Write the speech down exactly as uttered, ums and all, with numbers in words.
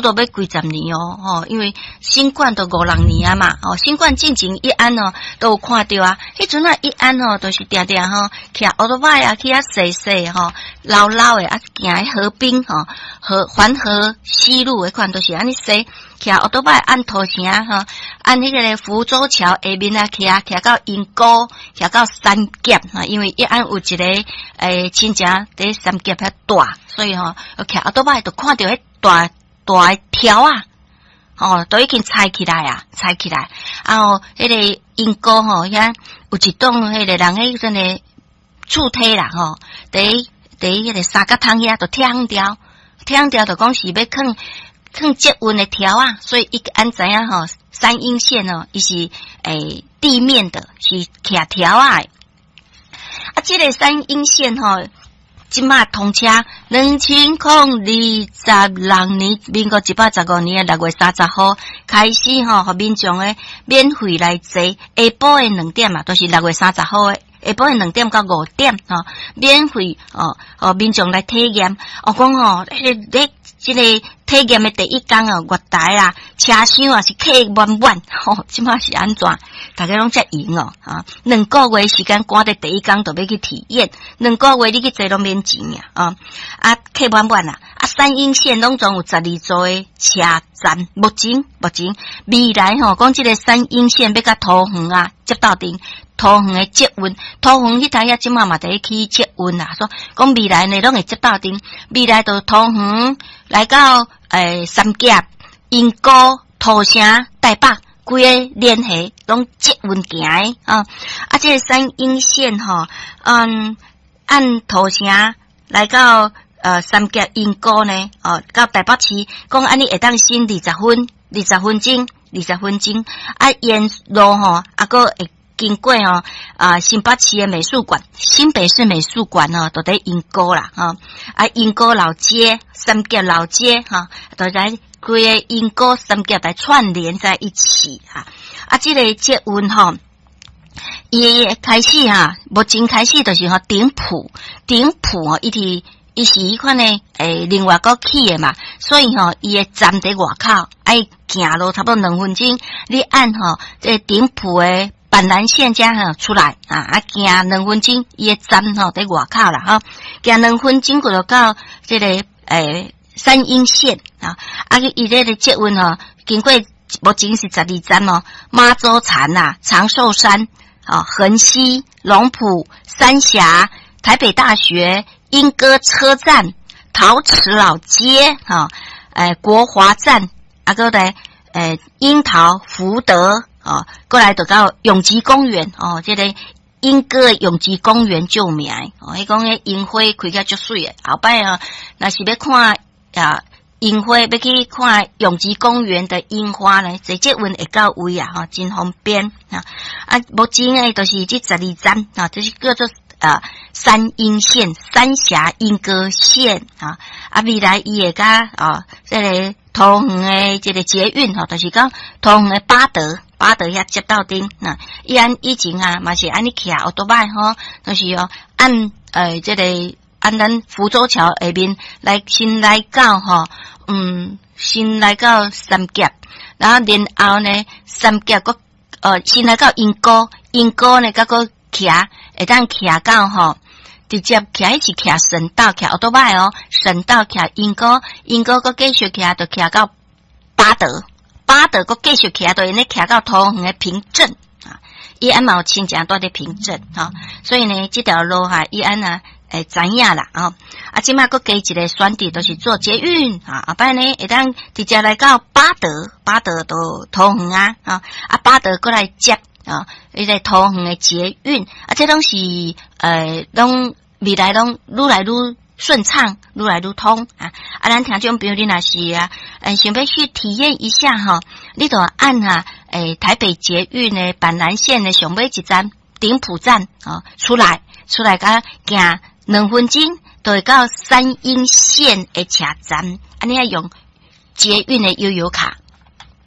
多欲幾十年哦，吼，因為新冠都五六年啊嘛，哦，新冠進前一安哦都有看著啊，彼陣啊一安吼都是定定吼，騎歐多擺啊去遐踅踅吼，老老的啊行河濱吼，河環河西路彼款都是按呢踅，騎歐多擺按土城吼，按彼个浮洲橋下面啊，騎騎到鶯歌，騎到三峽哈，因為一安有一个欸親戚佇三峽遐蹛，所以吼騎歐多擺就看著彼大大的柱仔，吼，都已經拆起來啊，拆起來，啊吼，彼個鶯歌吼遐有一棟彼个人彼陣的厝梯啦吼，佇佇彼個三角窗遐就拆掉，拆掉就講是欲囥囥捷運的柱仔，所以伊按知影吼，三鶯線哦，伊是欸地面的，是徛柱仔的。啊，這個三鶯線吼，這馬通車，兩千零二十六年，民國一百十五年的六月三十號開始吼，予民眾的免費來坐。下晡的兩點啊，都是六月三十號的下晡的兩點到五點吼，免費哦，予民眾來體驗。哦，講吼，彼个咧，這個體驗的第一工哦，月台啊，車廂啊是客滿滿，吼，這馬是按怎？大家攏遮閒哦，啊，兩個月時間趕佇第一工就欲去體驗，兩個月你去坐攏免錢啊，啊，客滿滿啊，啊，三鶯線攏總有十二座的車站，目前目前未來吼，講這個三鶯線欲佮桃園啊接鬥陣，桃園的捷運，桃園彼台遐這馬嘛佇起捷運啊，說講未來呢攏會接鬥陣，未來就桃園來到欸三峽、鶯歌、土城、台北。規个聯繫攏捷運行的啊！啊，這個三鶯線吼，嗯，按土城來到呃三峽鶯歌呢，哦，到台北市，講按呢會當省二十分，二十分鐘，二十分鐘。啊，沿路吼，啊，閣會經過吼啊新北市的美術館，新北市美術館吼，都佇鶯歌啦，吼啊，鶯歌老街、三峽老街，吼，都來規个鶯歌三峽來串聯在一起啊！啊，這個捷運吼，伊開始哈，目前開始就是吼頂埔，頂埔吼，伊佇伊是彼款的欸，另外閣起的嘛，所以吼，伊的站佇外口，愛行路差不多兩分鐘，你按吼這個頂埔的板南線遮吼出來啊，啊行兩分鐘，伊的站吼佇外口啦吼，行兩分鐘過就到這個欸三鶯線啊，啊伊這個捷運吼，經過目前是十二站哦，媽祖田啊、長壽山啊、橫溪、龍埔、三峽、台北大學、鶯歌車站、桃池老街啊，欸國華站啊，閣來欸櫻桃福德啊，過來就到永吉公園哦，這個鶯歌永吉公園著名哦，彼講彼櫻花開甲足媠的，後擺啊，若是欲看啊櫻花，欲去看永吉公園的櫻花呢，坐捷運會到位啊，吼，真方便啊！啊，目前呢，就是這十二站啊，就是叫做啊三鶯線、三峽鶯歌線啊，啊未來伊會佮啊這個桃園的這個捷運吼，就是講桃園的八德。八德遐接鬥陣，啊，伊按以前啊，嘛是按呢騎歐多擺吼，就是哦按欸這個按咱浮洲橋下面來先來到吼，嗯，先來到三峽，然後然後呢，三峽閣呃先來到鶯歌，鶯歌呢，閣閣騎會當騎到吼，直接騎彼是騎省道，騎歐多擺哦，省道騎鶯歌，鶯歌閣繼續騎，就騎到八德。八德閣繼續騎，就會咧騎到桃園的平鎮啊！伊按嘛有親情蹛佇平鎮吼，所以呢，這條路哈，伊按啊會知影啦吼。啊，這馬閣加一個選擇，就是坐捷運啊，後擺呢會當直接來到八德，八德就桃園啊，啊，八德閣來接啊，彼個桃園的捷運啊，這攏是呃，攏未來攏愈來愈順暢，愈來愈通啊！啊，咱聽眾朋友，你若是啊，欸，想欲去體驗一下吼，你就按哈，欸，台北捷運的板南線的上尾一站頂埔站啊出來，出來佮行兩分鐘，就會到三鶯線的車站。啊，你愛用捷運的悠遊卡。